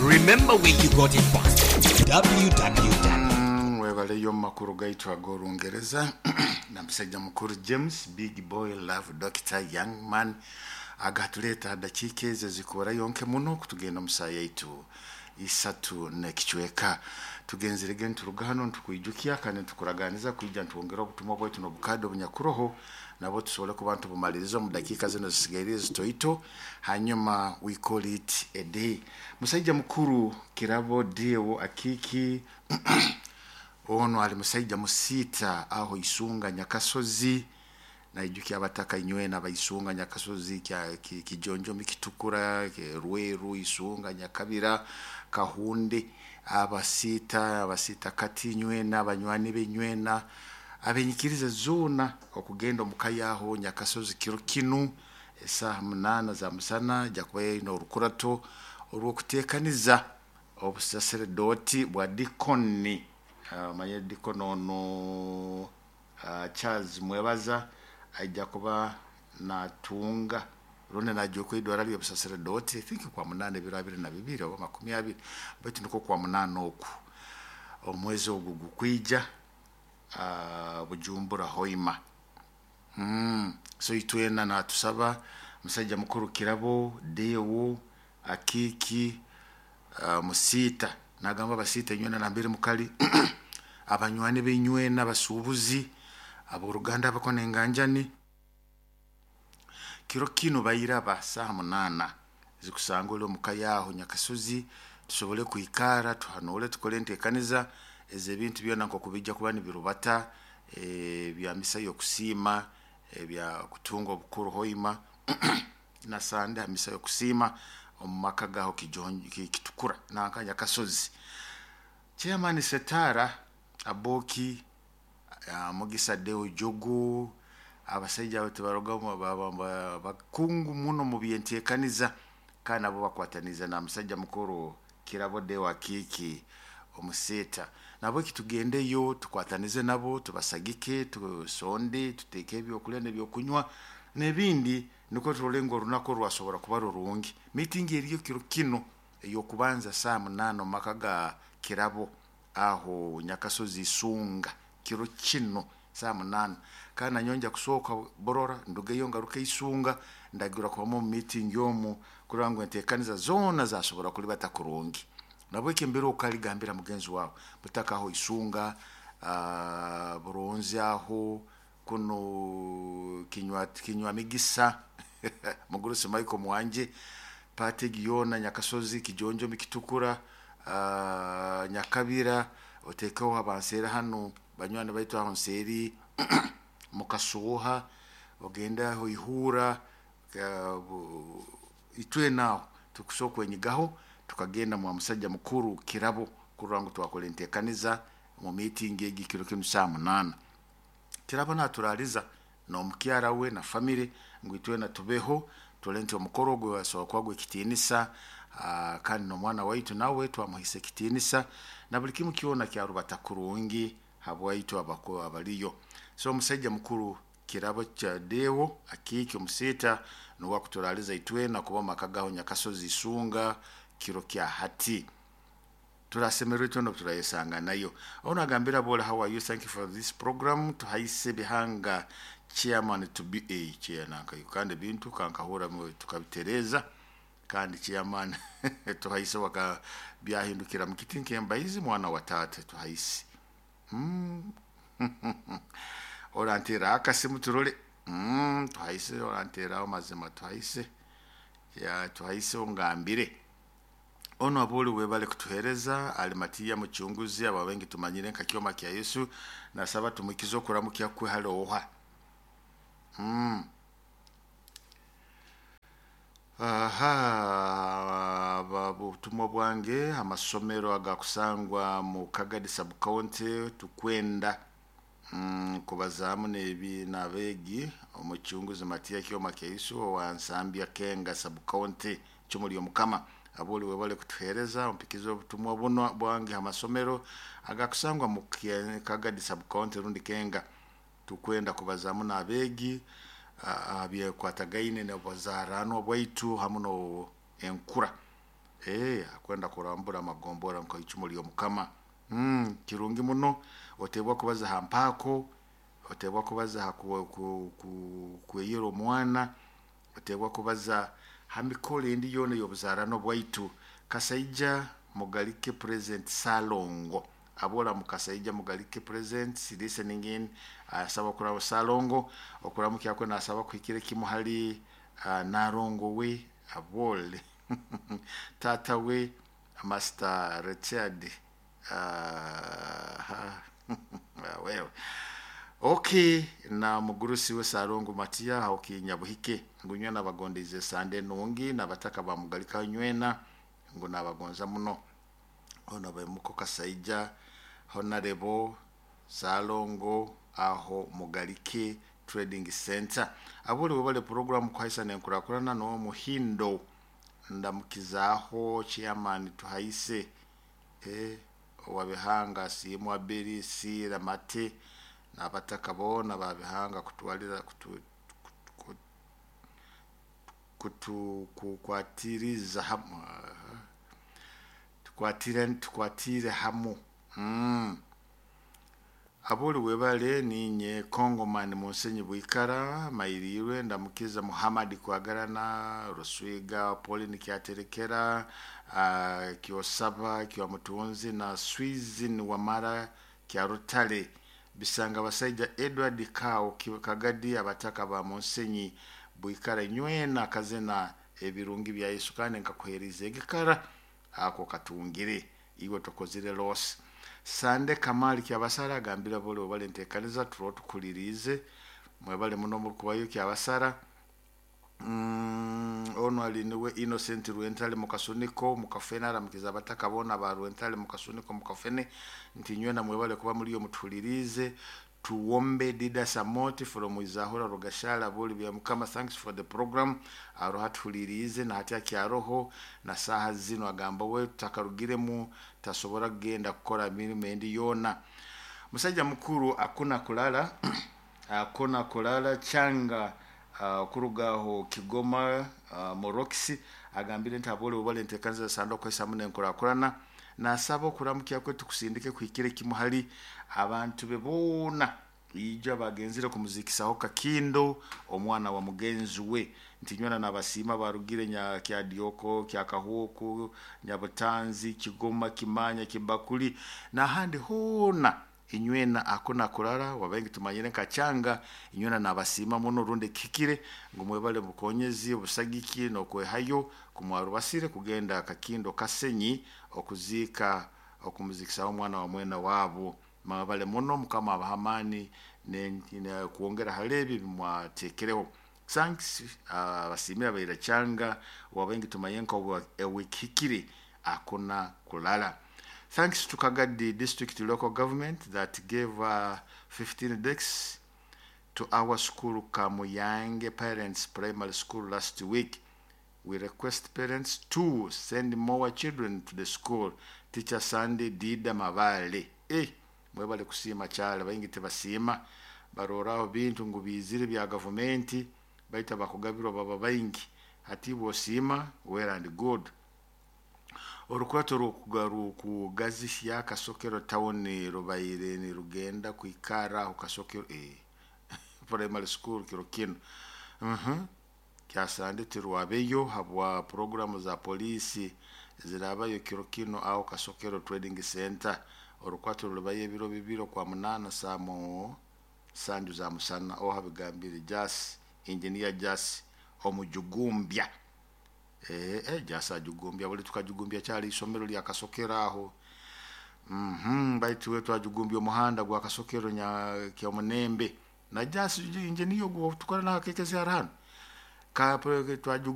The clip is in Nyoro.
Remember where you got it from. Www. Webaleyo omu makuru gaitu ag'Orungereza na musajja mukuru James Big Boy Love Doctor Young Man agatuleeta ha dakiika ezo ezikurayo nke muno kutugenda omu saaha yaitu isatu n'ekicweka. Tugenzerege nituruga hanu nitukwijukya kandi nitukuraganiza kwija nitwongera obutumwa bwaitu n'obukaadi obunyakuroho nabwo tusobole kuba nitubumaliriza omu dakiika zinu ezisigaire ezitoito, hanyuma we call it a day. Musaija mukuru Kirabo Deo Akiiki ono ali musaija musiita aho Isunga Nyakasozi. Naijukya abataka inywena abaisunga Nyakasozi, Kijonjomi, Kitukura, Rweru, Isunga, Nyakabira, Kahunde, abasiita, abasiita kati inywena, abanywani be inywena, abenyikiriza zoona okugenda omu ka yaho Nyakasozi kiro kinu esaaha 8 za musana ija kuba eine orukurato orw'okuteekaniza obusaseredooti bwa dikoni. Omanyire dikoni onu Charles Mwebaza aija kuba natunga rundi najya okwidwara ly'obusaseredooti, I think kwa 8 ebiro 22 oba 20, baitu nikwo kwa 8 oku omwezi ogu gukwija, Bujumbura Hoima. So itwena natusaba musaija mukuru Kirabo Deo Akiiki Musiita, nagamba abasiita inywena nambere mukali, abanywani b'inywena, abasuubuzi, ab'oruganda abakona enganjani, kiro kinu bairaba saaha 8 zikusanga oli omuka yaho Nyakasozi, tusobole kwikara tuhanule tukole enteekaniza ez'ebintu byona nk'oku bijja kuba nibirubata, ebya misa y'okusiima, ebya kutunga obukuru Hoima na Sande ha misa y'okusiima omu maka gaho Kitukura nanka Nyakasozi. Chairman Setara Aboki, Mugisa Deo Jogo, abasaija abo tibaruga bakungu muno mu by'enteekaniza kandi nabo bakwataniza na musajja mukuru Kirabo Deo Akiiki omuseeta. Nabweki tugendeyo tukwatanize nabo, tubasagike, tusonde, tuteeke ebyokulya n'ebyokunywa n'ebindi, nukwo turole ngu orunaku rwasobora kuba rurungi. Meeting eriyo kiro kinu ey'okubanza saaha 8 omu maka ga Kirabo aho Nyakasozi Isunga kiro kinu saaha 8, kandi nanyowe nja kusooka Burora ndugeyo ngaruke Isunga, ndagirwa kubamu omu meeting omu kurora ngu enteekaniza zoona zasobora kulibata kurungi. Nabweki embere okaligambira mugenzi wawe butaka aho Isunga, Buronzi aho kuno kinywa migisa mugurusi Michael Mwanje, Pategi yoona Nyakasozi, Kijonjomi, Kitukura, Nyakabira, otekeho abanseera hanu banywani baitu aho nseeri Mukasooha, ogende aho Ihura, itwena aho tukusobola kwenyigaho tukagenda mwa musajja mukuru Kirabo kurora ngu twakora enteekaniza omu meeting egi kiro kinu saaha 8. Kirabo naturaaliza n'omukyara we na family ngu itwena tubeho turole nti omukoro ogwo gwasobora kuba gw'ekitiinisa, kandi n'omwana waitu nawe twamuhaisa ekitiinisa na buli kimu kyona kyarubata kurungi habwaitu abaliyo. So omusaija mukuru Kirabo kya Deo Akiiki omusiita nuwe akuturaaliza itwena kuba omu maka gaho Nyakasozi Isunga kiro kya hati. Turasemererwa itwena obu turayesanganayo. Onu agambira Bole, how are you? Thank you for this program. Tuhaise Bihanga chairman to be a chair nanka kandi ebintu kankahura tukabitereeza kandi chairman tuhaise waka byahindukira mu kiti nk'embaizi mwana wa taata tuhaise. Oranteera akasimu turole. Tuhaise oranteeraho mazima tuhaise. Ya tuhaise ongambire. Ono aboli webale kutuhereza Alimatiya muchunguzi aba wengi tumanyire nka kyoma kya Yesu, nasaba tumukize okuramukya kwe hali oha. Aha, butumwa bwange amasomero agakusangwa mu Kagadi sub county tukwenda kubazaamu nebi n'abeegi omuchunguzi Matiya Kyoma kya Yesu owa Nsambya Kenga sub county Chumuli Omukama aboli webale kutuhereza ompikize obutumwa buno bwange amasomero agakusangwa mu Kagadi sub county rundi Kenga tukwenda kubazaamu n'abeegi byekwatagaine n'obuzaranwa bwaitu hamu no enkura. Akwenda kurambura amagombora nka icumu ly'omukama. Kirungi muno otebwa kubaza ha mpaako, otebwa kubaza ha kweyera omwana, otebwa kubaza ha mikoro endi yoona ey'obuzaarano bwaitu. Kasaija Mugalike present Salongo abola mukasaija Mugalike present listening in, asaba okuraba Salongo okuramukya kwe, nasaba kuhikire kimu hali Narongo we abole tata we Master Richard. Wewe okay, na mugurusi we Salongo Matiya hauki Nyabuhike ngu nywena abagondeize sande nungi nabataka bamugalika nywena ngu nabagonza muno. Ono bemuko Kasaija Honorable Salongo aho Mugalike Trading Center abuli webale program kuhaisa nenkurakurana no muhindo ndamukizaho chairman tuhaise owabihanga simwa beri sira mate nabataka bona babihanga kutwalira kutu kukwatiriza hamu tukwatire hamu. Abuli webale ninye Kongomani Munsenyi Bwikara mairirwe ndamukiza Muhammad Kwagarana Ruswiga Pauline Kyaterekera Kyosaba Kya Mutunzi na Swizin Wamara Kyarutale bisanga basaija Edward Kao Kagadi abataka ba Munsenyi Bwikara nywena kazina ebirungi bya Yesu kandi nkakuheriza egikara ako katungire iwe tokozire loss. Sande Kamali Kyabasara agambira bole obale ntekaniza turo tukulirize mwebale muno mukubayo Kyabasara. Ono ali niwe Innocent Rwentale mukasuniko mukafene aramukiza abataka bona ba Rwentale mukasuniko mukafene nti nywena mwebale kuba muri yo mutulirize. Tuwombe Dida Samoti from Izahura Rugashala buli bya Mukama, thanks for the program. Aroha tulirize na hati akyaroho na saha zino agamba we takarugiremu tasobora kugenda kukora mirimo endi yona. Musajja mukuru akuna kulala akuna kulala changa okurugaho Kigoma Moroxi agambire nti abole obale ntekanza sando kwesa mune nkurakurana nasaba okuramukya kwe tukusindike kuhikire kimu hali abantu be boona ija bagenzire kumuzikisaho Kakindo omwana wa mugenzi we nti nywena nabasiima barugire nya Kyadioko Kyakahuku Nyabutanzi Kigoma Kimanya Kibakuli nahandi hoona inywena akuna kurara wabengi tumanyire nkachanga inywena nabasiima muno runde kikire ngu mwebale bukonyezi obusagiki nokwehayo kumwarubasire kugenda Kakindo Kasenyi okuzika okumuzikisa omwana wa mwena wabo. Mwebale muno Mukama abahamani ne kuongera halebi mwatekereho. Thanks abasimira baira changa wabengi tumayenka ewikikire akuna kulala. Thanks to Kagadi District Local Government that gave 15 desks to our school Kamuyange Parents Primary School last week. We request parents to send more children to the school. Teacher Sandy Dida Mabale. Mwebale kusiima kyala bayingi tebasiima baroraho bintu ngu bizire bya gavumenti baita bakugabirwa baba baingi hati bwosiima well and good. Orukwato rukugazisya Kasokero town rubaire ni rugenda kwikara aho Kasokero primary school kiro kino. Kyasande tirwabeyo habwa programu za polisi zirabayo kiro kino aho Kasokero Trading Center. Orukwato rubaye ebiro bibiro kwa munana saa mu sanju za musana oha bigambire Jas engineer Jas omujugumbya. Jas ajugumbya buli tukajugumbya kyali isomero lya Kasokero aho. Baitu we twajugumbya omuhanda gwa Kasokero nya kya Munembe na Jas engineer gwo tukora na kekezi arano ka twajugumbya.